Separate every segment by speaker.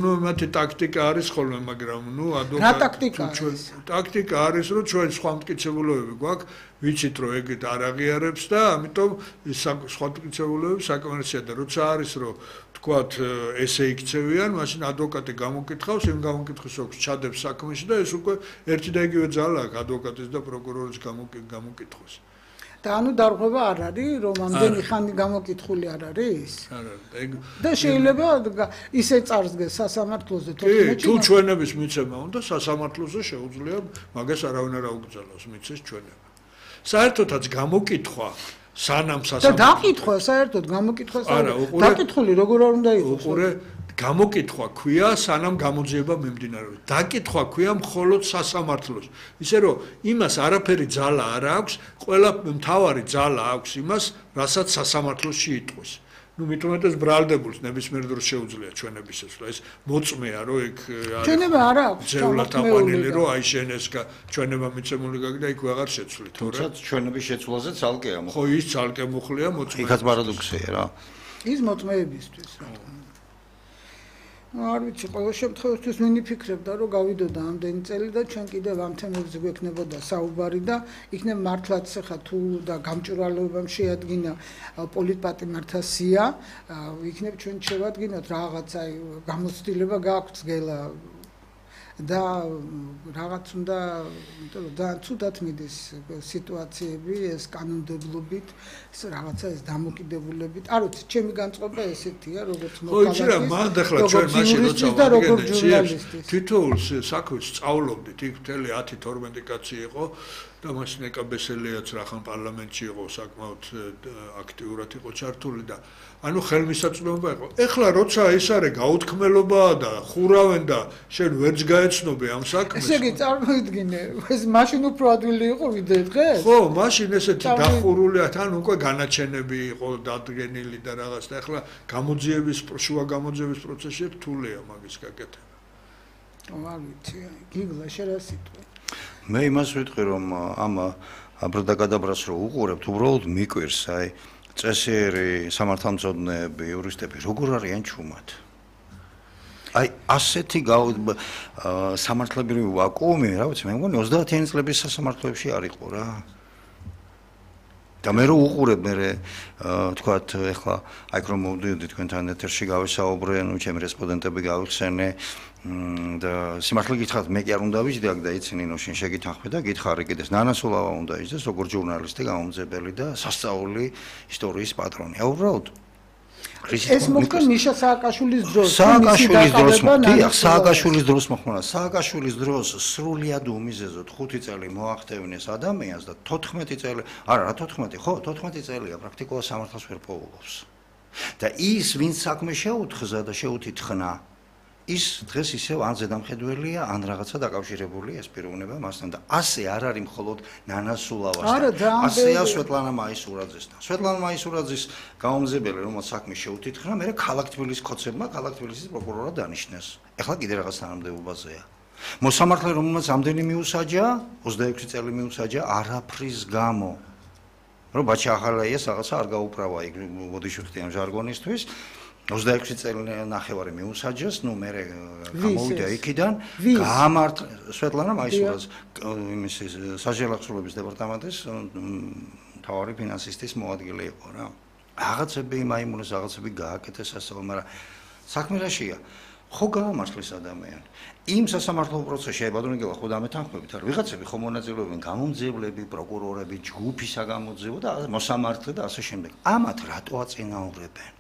Speaker 1: ნუ მათი ტაქტიკა არის ხოლმე, მაგრამ ნუ
Speaker 2: რა ტაქტიკა არის?
Speaker 1: ტაქტიკა არის, რომ ჩვენ სხვა მტკიცებულებები გვაქვს, ვიცით რომ ეგეთ არ აღიარებს და ამიტომ სხვა მტკიცებულებები საკმარისია და როცა არის რომ თქვათ ესე იქცევიან, მაშინ ადვოკატი გამოკითხავს, იმ გამოკითხვის ოქს ჩადებს საქმეში და ეს უკვე ერთი და იგივე ძალა აქვს ადვოკატის და პროკურორის გამოკითხვის.
Speaker 2: და ანუ დარღვევა არ არის, რომ ამდენი ხანი გამოკითხული არ არის?
Speaker 1: არა,
Speaker 2: და შეიძლება ისე წარსდგეს სასამართლოზე 14-ში.
Speaker 1: თუ ჩვენების მიცემა უნდა სასამართლოზე შეუძლია მაგას არავინ არ აუგზავნოს მიცეს ჩვენება. საერთოდაც გამოკითხვა სანამ
Speaker 2: და დაკითხვა საერთოდ გამოკითხვა დაკითხული როგორ არ უნდა იყოს?
Speaker 1: უყურე გამოკითხვა ქვია სანამ გამოძიება მიმდინარეობს. დაკითხვა ქვია მხოლოდ სასამართლოს. ისე რომ იმას არაფერი ძალა არ აქვს, ყველა მთავარი ძალა აქვს იმას, რასაც სასამართლოში იტყვის. ნუ მithumetes ბრალდებულს ნებისმიერ დროს შეუძლია ჩვენების ესვლა. ეს მოწმეა რომ ეგ
Speaker 2: ჩვენება არ აქვს.
Speaker 1: ძევლად აყვანილი რომ აი შენ ეს ჩვენება მიცემული გაქვს და იქ ვეღარ შეცვლით.
Speaker 3: თუმცა ჩვენების შეცვლაზე ცალკეა.
Speaker 1: ხო ის ცალკე მუხლია მოწმე.
Speaker 3: იქაც პარადოქსია რა.
Speaker 2: ის მოწმეებისთვის რა. არ ვიცი, ყოველ შემთხვევაში მინი ფიქრობდა, რომ გავიდოდა ამდენი წელი და ჩვენ კიდევ ამ თემებზე გვექნებოდა საუბარი და იქნებ მართლაც ხა თუ და გამჭვირვალეობამ შეადგინა პოლიტპატიმართა სია, იქნებ ჩვენ შევადგინოთ რაღაც აი გამოცდილება გაქვთ გელა და რაღაც უნდა და ცუდად მიდის სიტუაციები ეს კანონმდებლობით ეს რაღაცა ეს დამოკიდებულებით არ ვიცი ჩემი განწყობა ესეთია როგორც
Speaker 1: მოქალაქის ხო იცი რა მან ახლა ჩვენ მაშინ როცა ვაგებდით თითოეულ საქმეს სწავლობდით იქ მთელი 10-12 კაცი იყო და მაშინ ეკაბესელიაც რახან პარლამენტში იყო საკმაოდ აქტიურად იყო ჩართული და ანუ ხელმისაწვდომობა იყო. ეხლა როცა ეს არის გაუთქმელობაა და ხურავენ და შენ ვერც გაეცნობე ამ საქმეს.
Speaker 2: ესე იგი წარმოიდგინე, ეს მაშინ უფრო ადვილი იყო ვიდრე დღეს?
Speaker 1: ხო, მაშინ ესეთი დახურულია, თან უკვე განაჩენები იყო დადგენილი და რაღაც და ეხლა გამოძიების შუა გამოძიების პროცესში რთულია მაგის გაკეთება.
Speaker 2: არ ვიცი, გიგლა შერასიტყვი.
Speaker 3: მე იმას ვიტყვი რომ ამ აბრდაგადაბრას რო უყურებთ, უბრალოდ მიკვირს აი წესიერი სამართალმცოდნეები, იურისტები როგორ არიან ჩუმად. აი ასეთი სამართლებრივი ვაკუუმი, რა ვიცი, მე მგონი 30-იანი წლების სასამართლოებში არ იყო რა. და მე რო უყურებ მე თქვათ ეხლა აი რომ მოვდიოდი თქვენთან ეთერში გავისაუბრე, ნუ ჩემი რესპონდენტები გავიხსენე და სიმართლე გითხრათ მე კი არ უნდა ვიჯდე აქ და იცი ნინო შენ შეგითანხმე და გითხარი კიდეს ნანასულავა უნდა იჯდეს როგორც ჟურნალისტი გამომძებელი და სასწაული ისტორიის პატრონი. უბრალოდ
Speaker 2: ეს მოხდა მიშა სააკაშვილის დროს.
Speaker 3: სააკაშვილის დროს მოხდა. სააკაშვილის დროს სრულიად უმიზეზოდ 5 წელი მოახტევნეს ადამიანს და 14 წელი, არა რა 14, ხო 14 წელია პრაქტიკულად სამართალს ვერ პოულობს. და ის ვინც საქმე შეუთხზა და შეუთითხნა ის დღეს ისევ ან ზედამხედველია, ან რაღაცა დაკავშირებულია ეს პიროვნება მასთან და ასე არ არის მხოლოდ ნანასულავასთან. ასეა სვეტლანა მაისურაძესთან. სვეტლანა მაისურაძის გამომძებელი, რომელიც საქმე შეუთითხნა, მე ქალაქ თბილისის ხოცებმა ქალაქ თბილისის პროკურორად დანიშნეს. ეხლა კიდე რაღაც თანამდებობაზეა. მოსამართლე რომელმაც ამდენი მიუსაჯა, 26 წელი მიუსაჯა არაფრის გამო. რომ ბაჩა ახალაიას რაღაცა არ გაუправა იქ ბოდიშვიხტი ამ ჟარგონისთვის. 26 წელი ნახევარი მიუსაჯეს, ნუ მე გამოვიდა იქიდან, გაამართლა სვეტლანა მაისურაძე, იმის საჟელახსოვრების დეპარტამენტის მთავარი ფინანსისტის მოადგილე იყო რა. რაღაცები მაიმუნეს რაღაცები გააკეთეს ასე, მაგრამ საქმე რაშია? ხო გაამართლეს ადამიანი. იმ სასამართლო პროცესში აი ბატონო გელა ხო დამეთანხმებით არა ვიღაცები ხო მონაწილეობენ გამომძიებლები, პროკურორები, ჯგუფი საგამოძიებო და მოსამართლე და ასე შემდეგ. ამათ რატო აწინაურებენ?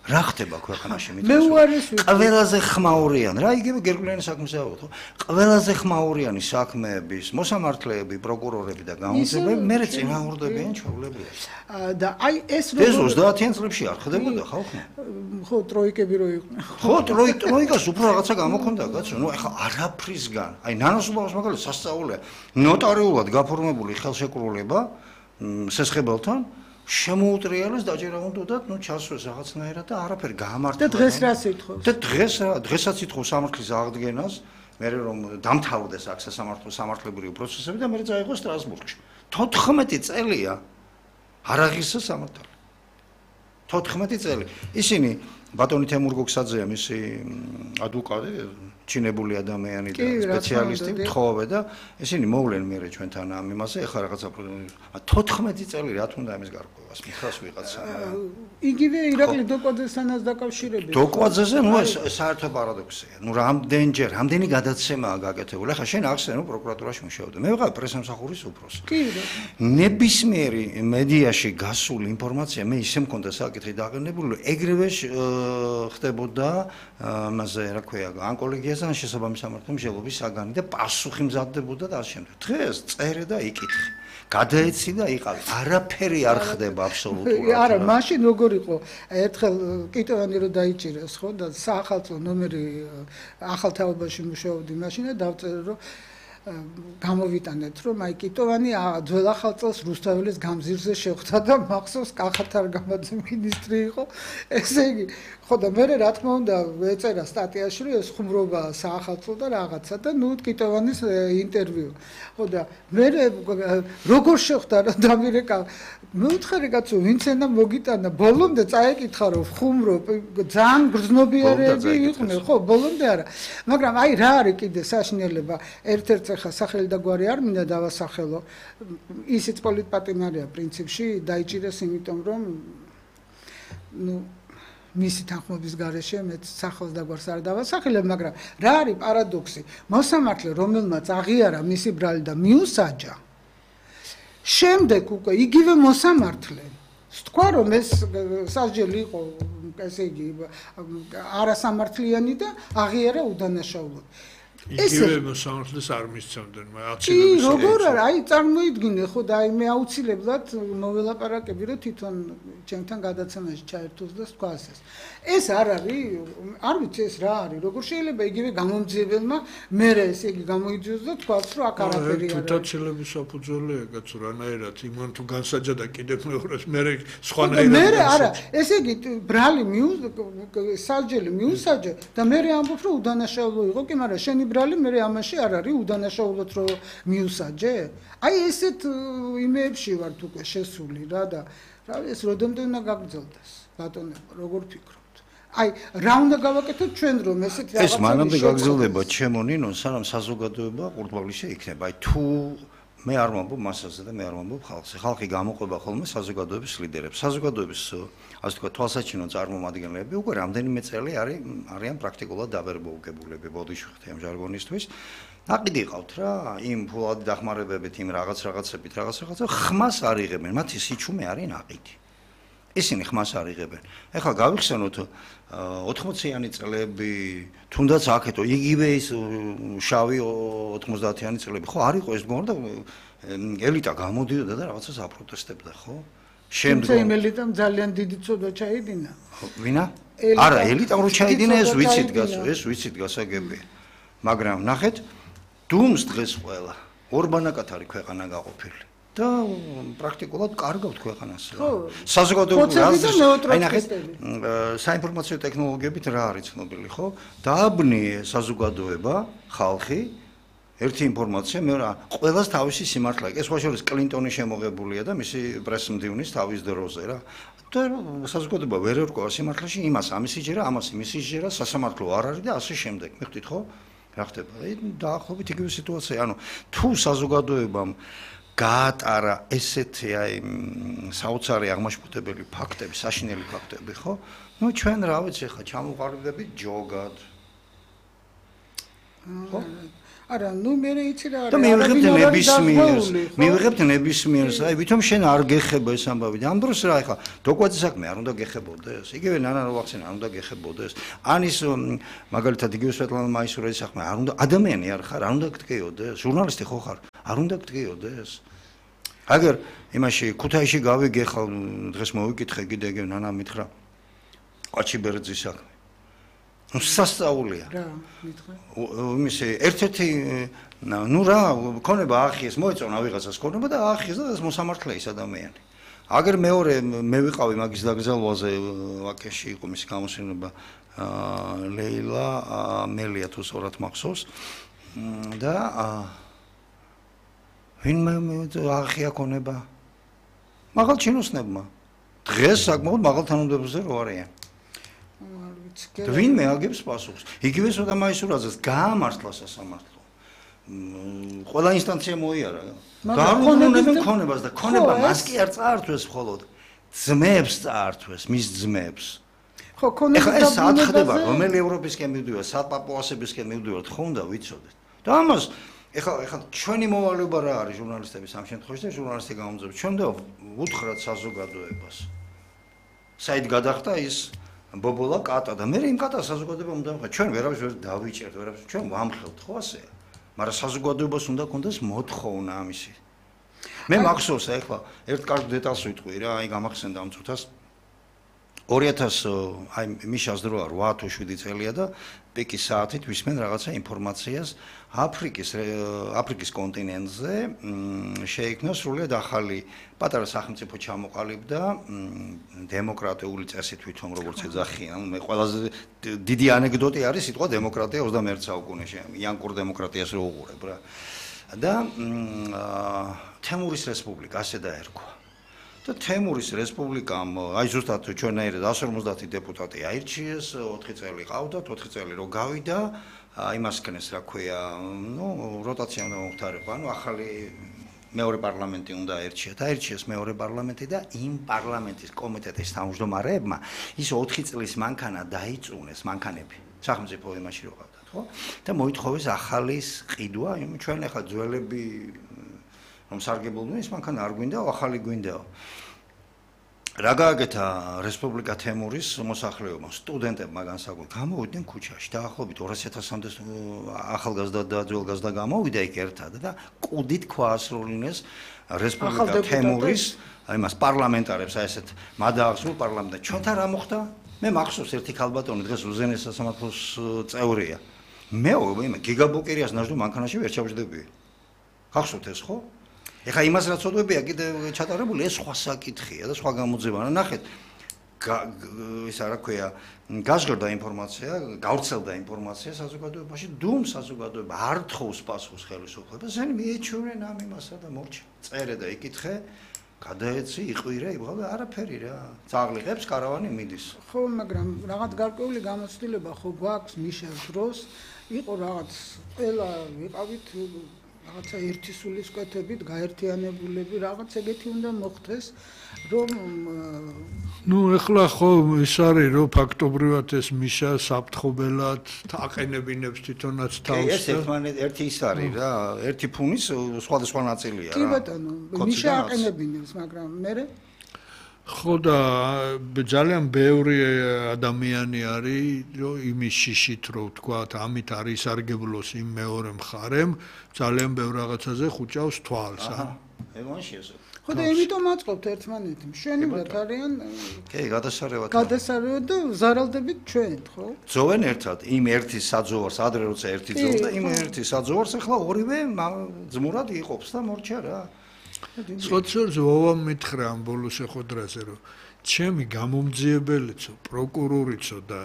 Speaker 3: რა ხდება ქვეყანაში
Speaker 2: მე უარეს ვიტყვი.
Speaker 3: ყველაზე ხმაურიანი, რა იგივე გერგულიანი საქმეზე ავიღო. ყველაზე ხმაურიანი საქმეების მოსამართლეები, პროკურორები და გამომძიებლები მე წინააღმდეგებიან ჩვეულებრივად.
Speaker 2: და აი ეს
Speaker 3: როგორ ეს 30-იან წლებში არ ხდებოდა ხალხმა?
Speaker 2: ხო, ტროიკები რო იყვნენ.
Speaker 3: ხო, ტროიკას უფრო რაღაცა გამოქონდა კაცო. ნუ ეხლა არაფრისგან, აი ნანასულავას მაგალითად სასწაულია. ნოტარიულად გაფორმებული ხელშეკრულება სესხებელთან შემოუტრიალეს დაჯერა უნდათ, ნუ ჩასვეს რაღაცნაირად და არაფერი გაამართლა.
Speaker 2: და დღეს რა სიტყვებს?
Speaker 3: და დღესაც ითხოვს სამართლის აღდგენას, მე რომ დამთავრდეს აქ სამართლებრივი პროცესები და მე წაიღო სტრასბურგში. 14 წელია არ აღიზარდა სამართალი. 14 წელი. ისინი ბატონი თემურ გოგსაძეა მისი ადვოკატი, ჩინებული ადამიანი და სპეციალისტი, თხოვე და ისინი მოვლენ მერე ჩვენთან ამ იმაზე, ეხლა რაღაცა 14 წელი რა თქმა უნდა ამის გარკვევას მითხრას ვიღაცა.
Speaker 2: იგივე ირაკლი დოკვაძესანაც დაკავშირებით.
Speaker 3: დოკვაძეზე ნუ ეს საერთო პარადოქსია. ნუ რამდენი გადაცემაა გაკეთებული. ეხლა შენ ახსენე პროკურატურაში მუშაობდი. მე ვიყავ პრესამსახურის უფროსი.
Speaker 2: კი რა.
Speaker 3: ნებისმიერი მედიაში გასული ინფორმაცია მე ისე მქონდა საკითხი დაყენებული, ეგრევე ხდებოდა მასე რა ქვია, ან კოლეგიაზე ან შესაბამის სამართლის მსჯელობის საგანი და პასუხი მზადდებოდა და ასე შემდეგ. დღეს წერე და იკითხე. გადაეცი და იყავი. არაფერი არ ხდება აბსოლუტურად.
Speaker 2: არა, მაშინ როგორ იყო? ერთხელ კიტოვანი რო დაიჭირეს, ხო და საახალწლო ნომერი ახალ თაობაში მუშაობდი მაშინ და დავწერე რომ გამოვიტანეთ რომ აი კიტოვანი ძველ ახალ წელს რუსთაველის გამზირზე შეხვდა და მახსოვს კახათარ გამაძე მინისტრი იყო. ესე იგი ხო და მე რა თქმა უნდა ეწერა სტატიაში რომ ეს ხუმრობა საახალწლო და რაღაცა და ნუ კიტოვანის ინტერვიუ. ხო და მე როგორ შეხვდა რა დამირეკა მეუთხარი კაცო ვინც ენა მოგიტანა ბოლომდე წაეკითხა რომ ხუმრო ძალიან გრძნობიარეები იყვნენ ხო ბოლომდე არა მაგრამ აი რა არის კიდე საშინელება ერთ-ერთ ხა სახელი და გვარი არ მინდა დავასახელო ისიც პოლიტპატიმარია პრინციპში დაიჭირეს იმიტომ რომ ნუ მისი თანხმობის გარეშე მეც სახელს და გვარს არ დავასახელებ მაგრამ რა არის პარადოქსი მოსამართლე რომელმაც აღიარა მისი ბრალი და მიუსაჯა შემდეგ უკვე იგივე მოსამართლე თქვა რომ ეს სასჯელი იყო ესე იგი არასამართლიანი და აღიარა უდანაშაულოდ
Speaker 1: იგივე მოსამართლეს არ მისცემდნენ
Speaker 2: კი როგორ არა აი წარმოიდგინე ხო და აი მე აუცილებლად მოველაპარაკები რომ თვითონ ჩემთან გადაცემაში ჩაერთოს და თქვას ეს არ არის არ ვიცი ეს რა არის როგორ შეიძლება იგივე გამომძიებელმა მე ესე იგი გამოიძიოს და თქვას რომ აქ არაფერი არ არის
Speaker 1: თვითაცილების საფუძველია კაცო რანაირად იმან თუ განსაჯა და კიდევ მეორეს მე სხვანაირად
Speaker 2: მე არა ესე იგი ბრალი სასჯელი მიუსაჯე და მე ამბობ რომ უდანაშაულო იყო კი მაგრამ შენი ბრალი მე ამაში არ არის უდანაშაულოდ რომ მიუსაჯე აი ესეთ იმეებში ვართ უკვე შესული რა და რა ეს როდემდე უნდა გაგრძელდეს ბატონებო როგორ ფიქრობთ აი რა უნდა გავაკეთოთ ჩვენ რომ ესეთ რაღაცა
Speaker 3: ეს მანამდე გაგრძელდება ჩემო ნინო სანამ საზოგადოება ყურდღაβλისე იქნება აი თუ მე არ ვამბობ მასაზე და მე არ ვამბობ ხალხზე ხალხი გამოყვება ხოლმე საზოგადოების ლიდერებს საზოგადოების ასე თქვა თვალსაჩინო წარმომადგენლები უკვე რამდენიმე წელი არიან პრაქტიკულად დაბერბოუგებულები ბოდიშვიხთი ამ ჟარგონისთვის ნაყიდი ყავთ რა იმ ფულადი დახმარებებით იმ რაღაცებით რაღაცა ხმას არ იღებენ მათი სიჩუმე არის ნაყიდი ისინი ხმას არ იღებენ ეხლა გავიხსენოთ 80-იანი წლები თუნდაც აქეთო იგივე ის შავი 90-იანი წლები ხო არ იყო ეს მგონი და ელიტა გამოდიოდა და რაღაცას აპროტესტებდა ხო
Speaker 2: შემდგომ იმ ელიტამ ძალიან დიდი ცოდა ჩაიდინა
Speaker 3: ვინა არა ელიტამ რო ჩაიდინა ეს ვიცით გასაგებია მაგრამ ნახეთ დუმს დღეს ყველა ორბანაკად არის ქვეყანა გაყოფილი და პრაქტიკულად კარგავთ ქვეყანას საზოგადოებრივ აი ნახეთ საინფორმაციო ტექნოლოგიებით რა არის ცნობილი ხო დააბნიე საზოგადოება ხალხი ერთი ინფორმაცია მეორე ყველას თავისი სიმართლე ეს ხოშორის კლინტონი შემოღებულია და მისი პრესმდივნის თავის დროზე რა და საზოგადოება ვერ ერკვევა სიმართლეში იმას ამისი ჯერა ამას იმისი ჯერა სასამართლო არ არის და ასე შემდეგ მიხდით ხო რა ხდება დაახლოებით იგივე სიტუაცია ანუ თუ საზოგადოებამ გაატარა ესეთი აი საოცარი აღმაშფოთებელი ფაქტები, საშინელი ფაქტები, ხო? ნუ ჩვენ რა ვიცი ხა ჩამოყალიბდებით ჯოგად. ხო?
Speaker 2: არა, ნუ მე იცი რა არის.
Speaker 3: და მივიღებთ ნებისმიერს, აი ვითომ შენ არ გეხება ეს ამბავი. ამ დროს რა ხა დოკვაძე საქმე არ უნდა გეხებოდეს. იგივე ნანა როახსენა არ უნდა გეხებოდეს. ან ის მაგალითად იგივე სვეტლანა მაისურაძის საქმე არ უნდა ადამიანი არ ხარ, არ უნდა გტკიოდეს. ჟურნალისტი ხო ხარ? არ უნდა გტკიოდეს. აგერ იმაში ქუთაისში გავიგე ხა დღეს მოვიკითხე კიდე ნანა მითხრა ყაჩიბერძის საქმე ნუ სასწაულია
Speaker 2: რა მითხრა
Speaker 3: იმისი ერთ-ერთი ნუ რა ქონება აახიეს მოეწონა ვიღაცას ქონება და აახიეს და ეს მოსამართლე ის ადამიანი აგერ მეორე მე ვიყავი მაგის დაგზელვაზე ვაკეში იყო მისი გამოსვენება ლეილა მელია თუ სწორად მახსოვს და ვინმე აღია ქონება მაღალ ჩინოსნებმა დღეს საკმაოდ მაღალ თანამდებობაზე რო არიან ვინმე აგებს პასუხს. იგივე სოდა მაისურაძეს გაამართლა სასამართლო. ყველა ინსტანცია მოიარა. დაარღვევდნენ ქონებას და ქონება მას კი არ წაართვეს მხოლოდ ძმებს წაართვეს, მის ძმებს.
Speaker 2: ხო, ქონება
Speaker 3: და ეს სათხდება, რომელი ევროპისკენ მივდივართ, საპაპუასებისკენ მივდივართ, ხო უნდა ვიცოდეთ. და ამას ეხლა ჩვენი მოვალეობა რა არის ჟურნალისტების ამ შემთხვევაში და ჟურნალისტი გამომძებს. ჩვენ და უთხრათ საზოგადოებას. საით გადახდა ის ბობოლა კატა და მე იმ კატას საზოგადოება უნდა ვხა. ჩვენ ვერავის ვერ დავიჭერთ, ვერავის ჩვენ ვამხელთ, ხო ასეა. მაგრამ საზოგადოებას უნდა კონდეს მოთხოვნა ამისი. მე მახსოვს ეხლა ერთ კარგ დეტალს ვიტყვი რა, აი გამახსენდა ამ წუთას 2000 აი მიშას დროა 8 თუ 7 წელია და პიკის საათით ვისმენ რაღაცა ინფორმაციას აფრიკის კონტინენტზე შეიქმნა სრულიად ახალი პატარა სახელმწიფო ჩამოყალიბდა დემოკრატიული წესით თვითონ როგორც ეძახიან მე ყველაზე დიდი ანეკდოტი არის სიტყვა დემოკრატია 21 საუკუნეში იანკურ დემოკრატიას რო უყურებ რა და თემურის რესპუბლიკა ასე დაერქვა და თემურის რესპუბლიკამ აი ზუსტად ჩვენაირად 150 დეპუტატი აირჩიეს 4 წელი ყავდათ 4 წელი რო გავიდა იმასკნეს რა ქვია ნუ როტაცია უნდა მომხდარიყო ანუ ახალი მეორე პარლამენტი უნდა აირჩიათ აირჩიეს მეორე პარლამენტი და იმ პარლამენტის კომიტეტის თავმჯდომარეებმა ის 4 წლის მანქანა დაიწუნეს მანქანები სახელმწიფო იმაში რო ყავდათ ხო და მოითხოვეს ახალი ყიდვა ჩვენ ახლა ძველები რომ სარგებლობდნენ ის მანქანა არ გვინდა ახალი გვინდაო რა გააკეთა რესპუბლიკა თემურის მოსახლეობამ სტუდენტებმა განსაკუთრებით გამოვიდნენ ქუჩაში დაახლოებით 200,000-მდე ახალგაზრდა და ძველგაზრდა გამოვიდა იქ ერთად და კუდით ქვაასრულინეს რესპუბლიკა თემურის იმას პარლამენტარებს აი ესეთ მადაახსნულ პარლამენტად ჩვენთან რა მოხდა მე მახსოვს ერთი ქალბატონი დღეს უზენეს სასამართლოს წევრია მე გიგაბოკერიას ნაჟდო მანქანაში ვერ ჩავჯდებია გახსოვთ ეს ხო ეხა იმას რაც ოდვებია კიდე ჩატარებული ეს სხვა საკითხია და სხვა გამოძება ნახეთ ისა რა ქვია გაზღერდა ინფორმაცია გავრცელდა ინფორმაცია საზოგადოებაში დუმ საზოგადოება არ თხოვს პასუხს ხელისუფლებას ზენი მიეჩვენენ ამ იმასა და მორჩა წერე და იკითხე გადაეცი იყვირე იბღავდა არაფერი რა წაღლიყებს კარავანი მიდის
Speaker 2: ხო მაგრამ რაღაც გარკვეული გამოცდილება ხო გვაქვს მიშას დროს იყო რაღაც ყველა ვიყავით რაღაცა ერთი სულისკვეთებით გაერთიანებულები რაღაც ეგეთი უნდა მოხდეს რომ
Speaker 1: ნუ ეხლა ხო ის არის რომ ფაქტობრივად ეს მიშა საფრთხობელად აყენებინებს თვითონაც თავს
Speaker 3: ეს ერთი ის არის რა ერთი ფუნის სხვადასხვა ნაწილია რა
Speaker 2: კი ბატონო მიშა აყენებინებს მაგრამ მე
Speaker 1: ხო და ძალიან ბევრი ადამიანი არის რომ იმის შიშით რო ვთქვათ ამით არის სარგებლოს იმ მეორე მხარემ ძალიან ბევრ რაღაცაზე ხუჭავს თვალს
Speaker 3: ეგონში ეს
Speaker 2: ხო და იმიტომ აწყობთ ერთმანეთი მშვენივრად არიან
Speaker 3: კი გადასარევად
Speaker 2: და ზარალდებით ჩვენ ხო
Speaker 3: ძოვენ ერთად იმ ერთი საძოვარს ადრე როცა ერთი ძოვდა იმ ერთი საძოვარს ახლა ორივე ძმურად იყოფს და მორჩა რა
Speaker 1: სოციალიზმს ვოვამ მითხრა ამ ბოლო შეხვედრაზე რომ ჩემი გამომძიებელიცო პროკურორიცო და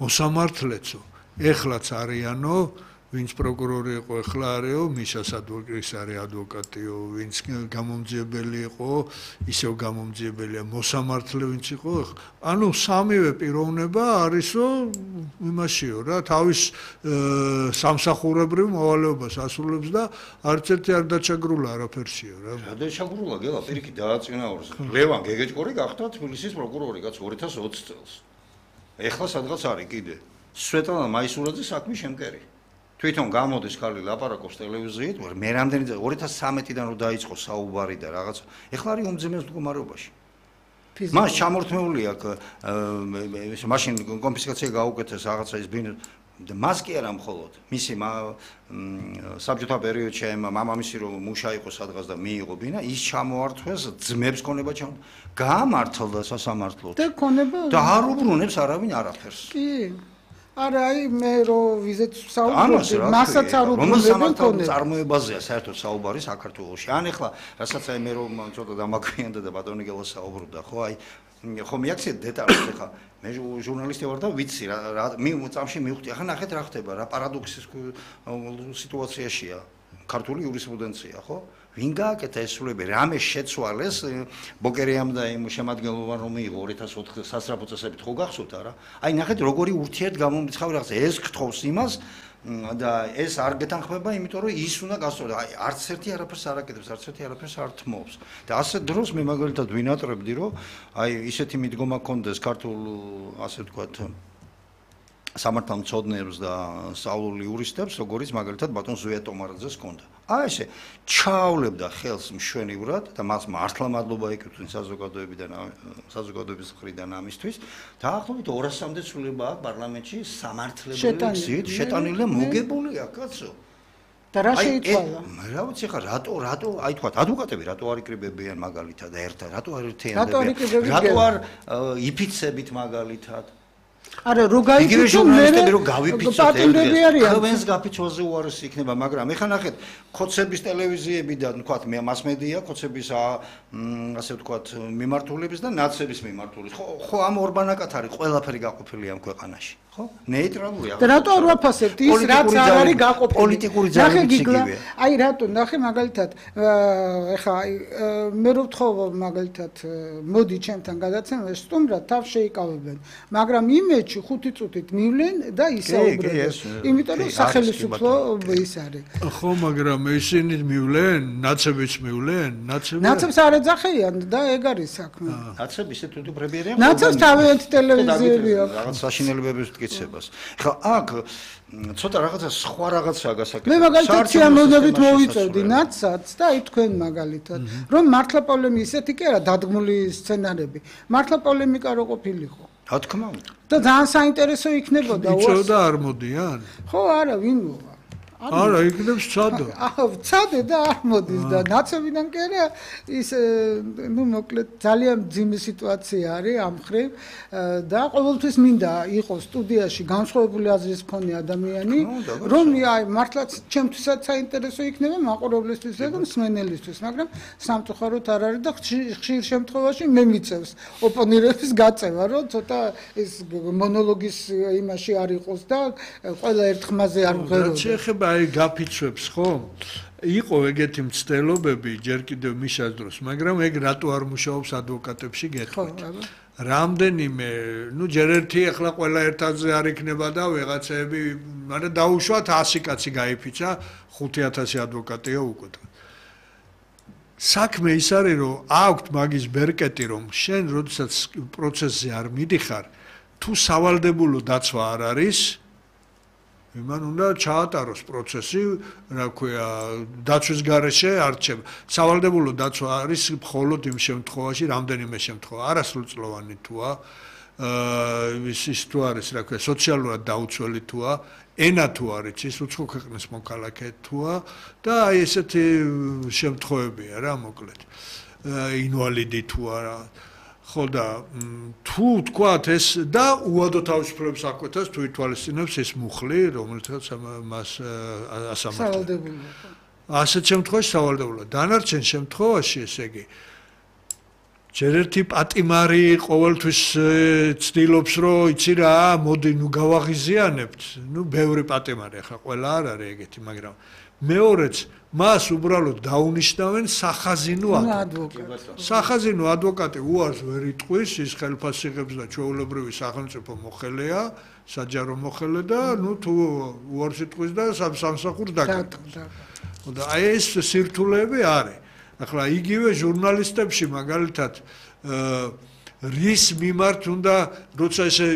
Speaker 1: მოსამართლეცო ეხლაც არიანო ვინც პროკურორი იყო ეხლა არისო მიშას ადვოკატის არის ადვოკატიო ვინც გამომძიებელი იყო ისევ გამომძიებელია მოსამართლე ვინც იყო ანუ სამივე პიროვნება არისო იმაშიო რა თავის სამსახურებრივ მოვალეობას ასრულებს და არც ერთი არ დაჩაგრულა არაფერსიო რა
Speaker 3: დაჩაგრულა გელა პირიქით დააწინაურეს ლევან გეგეჭკორი გახდა თბილისის პროკურორი კაც 2020 წელს ეხლა სადღაც არის კიდე სვეტლანა მაისურაძე საქმის შემკერი თვითონ გამოდის ხალი ლაპარაკობს ტელევიზიით, მე რამდენი 2013-დან რო დაიწყო საუბარი და რაღაც. ეხლა არის უმძიმეს მდგომარეობაში. მას ჩამორთმეული აქვს მაშინ კონფისკაცია გაუკეთეს რაღაცა ის ბინო და მას კი არა მხოლოდ. მისი საბჭოთა პერიოდში მამამისი რომ მუშა იყო სადღაც და მიიღო ბინა, ის ჩამოართვეს ძმებს ქონება გაამართლდა სასამართლოდ.
Speaker 2: და ქონება
Speaker 3: და არ უბრუნებს არავინ არაფერს.
Speaker 2: კი არა აი მე რო ვიზეთ საუბრობდი მასაც არ უბრუნებენ ქონებს
Speaker 3: წარმოებაზეა საერთოდ საუბარი საქართველოში ან ეხლა რასაც აი მე რომ ცოტა დამაგვიანდა და ბატონი გელა საუბრობდა ხო აი ხო მიაქციეთ დეტალებს ეხლა მე ჟურნალისტი ვარ და ვიცი რა წამში მივხვდი ახლა ნახეთ რა ხდება რა პარადოქსის სიტუაციაშია ქართული იურისპრუდენცია, ხო? ვინ გააკეთა ეს სრულები? რამე შეცვალეს ბოკერიამ და იმ შემადგენლობამ რომ მიიღო 2004 სასწრაფო წესებით ხო გახსოვთ არა? აი ნახეთ როგორი ურთიერთგამომრიცხავი რაღაცა ეს გთხოვს იმას და ეს არ გეთანხმება, იმიტომ რომ ის უნდა გასწორდეს. აი არც ერთი არაფერს არ აკეთებს, არც ერთი არაფერს არ თმობს. და ასეთ დროს მე მაგალითად ვინატრებდი, რომ აი ისეთი მიდგომა ქონდეს ქართულ, ასე ვთქვათ, სამართალმცოდნეებს და სწავლული იურისტებს, როგორიც მაგალითად ბატონ ზვია ტომარაძეს ჰქონდა. აი ესე ჩაავლებდა ხელს მშვენივრად და მას მართლა მადლობა ეკუთვნის საზოგადოების მხრიდან ამისთვის. დაახლოებით 200-მდე ცვლილება აქვს პარლამენტში სამართლებელი გზით შეტანილი და მოგებულია, კაცო.
Speaker 2: და რა შეიცვალა?
Speaker 3: რა ვიცი ხა რატო აი თქვა ადვოკატები რატო არ იკრიბებიან მაგალითად ერთად, რატო არ ერთიანდებიან? რატო არ იფიცებით მაგალითად?
Speaker 2: არა, რო გაიფიცო მე
Speaker 3: რო გავიფიცოთ ყველს გაფიცვაზე უარესი იქნება, მაგრამ ეხლა ნახეთ, ხოცების ტელევიზიებიდან, თქვათ, მასმედია, ხოცების ასე ვთქვათ, მიმართულების და ნაცების მიმართულების. ხო, ამ ორბანაკად არის ყველაფერი გაყოფილი ამ ქვეყანაში, ხო? ნეიტრალურია.
Speaker 2: და რატო არ ვაფასებთ ის რაც არ არის გაყოფილი?
Speaker 3: პოლიტიკური ძალებით იგივეა.
Speaker 2: აი რატო, ნახე მაგალითად, ეხლა მე რო ვთხოვ მაგალითად, მოდი ჩემთან გადაცემაში, სტუმრად თავს შეიკავებენ, მაგრამ იმეჩი 5 წუთით მივლენ და ისაუბრებენ. იმიტომ რომ სახელმწიფო ის არის.
Speaker 1: ხო, მაგრამ ისინი მივლენ, ნაცებიც მივლენ,
Speaker 2: ნაცებს არ ეძახიან და ეგ არის საქმე.
Speaker 3: ნაცები ისე თვითმფრებიერია.
Speaker 2: ნაცებს თავიანთი ტელევიზიები აქვს.
Speaker 3: რაღაც საშინელებების მტკიცებას. ხა აქ ცოტა რაღაცა სხვა რაღაცაა გასაკეთებელი.
Speaker 2: მე მაგალითად სიამოვნებით მოვიწევდი ნაცსაც და აი თქვენ მაგალითად რომ მართლა პოლემი ისეთი კი არა დადგმული სცენარები. მართლა პოლემიკა რო ყოფილიყო.
Speaker 3: რა თქმა უნდა.
Speaker 2: და ძალიან საინტერესო იქნებოდა.
Speaker 1: იცოდა და არ მოდიან?
Speaker 2: ხო, არა, ვინ მოვა?
Speaker 1: არა, იქნებს ცადო.
Speaker 2: ცადე და არ მოდის და ნაცებიდან კი არა ის ნუ მოკლედ ძალიან ძიმე სიტუაცია არის ამ მხრივ და ყოველთვის მინდა იყოს სტუდიაში განსხვავებული აზრის მქონე ადამიანი, რომ აი მართლაც ჩემთვისაც საინტერესო იქნება მაყურებლისთვისა და მსმენელისთვის, მაგრამ სამწუხაროდ არ არის და ხშირ შემთხვევაში მე მიწევს ოპონირების გაწევა, რომ ცოტა ის მონოლოგის იმაში არ იყოს და ყველა ერთ ხმაზე არ მღეროდა.
Speaker 1: აი გაფიცვებს ხო? იყო ეგეთი მცდელობები ჯერ კიდევ მიშას დროს, მაგრამ ეგ რატო არ მუშაობს ადვოკატებში გეტყვით. რამდენიმე, ნუ ჯერ ერთი ახლა ყველა ერთადზე არ იქნება და ვიღაცები, მაგრამ დაუშვათ 100 კაცი გაიფიცა, 5000 ადვოკატია უკვე. საქმე ის არის, რომ აქვთ მაგის ბერკეტი, რომ შენ როდესაც პროცესზე არ მიდიხარ, თუ სავალდებულო დაცვა არ არის, იმან უნდა ჩაატაროს პროცესი, რა ქვია, დაცვის გარეშე არჩევა. სავალდებულო დაცვა არის მხოლოდ იმ შემთხვევაში, რამდენიმე შემთხვევა, არასრულწლოვანი თუა, ის თუ არის, რა ქვია, სოციალურად დაუცველი თუა, ენა თუ არის, ის უცხო ქვეყნის მოქალაქე თუა და აი ესეთი შემთხვევებია რა, მოკლედ. ინვალიდი თუ არა. ხო და თუ თქვათ ეს და უადო თავისუფლებს აკვეთას თუ ითვალისწინებს ეს მუხლი, რომელთაც მას ასამართლებს. ასეთ შემთხვევაში სავალდებულოა. დანარჩენ შემთხვევაში, ესე იგი, ჯერ ერთი პატიმარი ყოველთვის ცდილობს, რომ იცი რა, მოდი ნუ გავაღიზიანებთ. ნუ ბევრი პატიმარი ახლა ყველა არ არის ეგეთი, მაგრამ მეორეც მას უბრალოდ დაუნიშნავენ სახაზინო ადვოკატი. სახაზინო ადვოკატი უარს ვერ იტყვის, ის ხელფასს იღებს და ჩვეულებრივი სახელმწიფო მოხელეა, საჯარო მოხელე და ნუ თუ უარს იტყვის და სამსახურს დაკარგავს. და აი ეს სირთულეები არის. ახლა იგივე ჟურნალისტებში მაგალითად რის მიმართ უნდა როცა ესე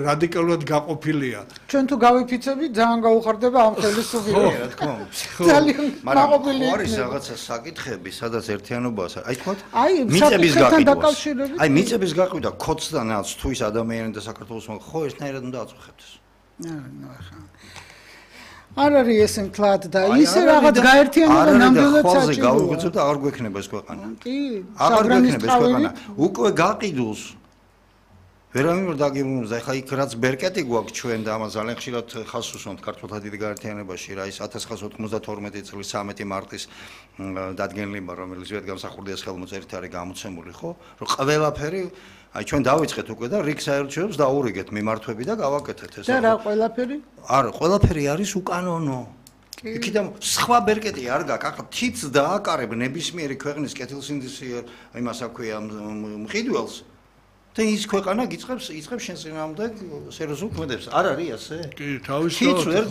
Speaker 1: რადიკალურად გაყოფილია.
Speaker 2: ჩვენ თუ გავიფიცებით ძალიან გაუხარდება ამ ხელისუფლება.
Speaker 3: რა თქმა უნდა.
Speaker 2: ძალიან გაყოფილი.
Speaker 3: არის რაღაცა საკითხები, სადაც ერთიანობაა. აი თქვა,
Speaker 2: მიწების გაყიდვა.
Speaker 3: აი მიწების გაყიდვა ქოცდანაც თუ ის ადამიანი და საქართველოს ხო ერთნაირად უნდა აწუხებდეს.
Speaker 2: ახლა არ არის ეს მთლად და ისე რაღაც გაერთიანება ნამდვილად საჭიროა.
Speaker 3: გავუგეცოთ და აღარ გვექნება ეს ქვეყანა.
Speaker 2: კი,
Speaker 3: აღარ გვექნება ეს ქვეყანა. უკვე გაყიდულს ვერავინ ვერ დაგიმუნებს. ახლა იქ რაც ბერკეტი გვაქვს ჩვენ და ამას ძალიან ხშირად ხაზს უსვამთ ქართულთა დიდი გაერთიანებაში, რა ის 1992 წლის 13 მარტის დადგენილება, რომელიც ვიადგამსახურდიას ხელმოწერით არის გამოცემული, ხო? რომ ყველაფერი აი ჩვენ დავიწყეთ უკვე და რიგ საერთაშორისო დაურიგეთ მიმართვები და გავაკეთეთ ეს.
Speaker 2: და რა ყველაფერი?
Speaker 3: არა, ყველაფერი არის უკანონო. იქიდან სხვა ბერკეტი არ გაქვს, ახლა თიც დააკარებ ნებისმიერი ქვეყნის კეთილსინდისიერ იმას აქვია მყიდველს. და ის ქვეყანა იწყებს შენ წინააღმდეგ სერიოზულ ქმედებს. არ არის ასე?
Speaker 1: კი, თავისთავად.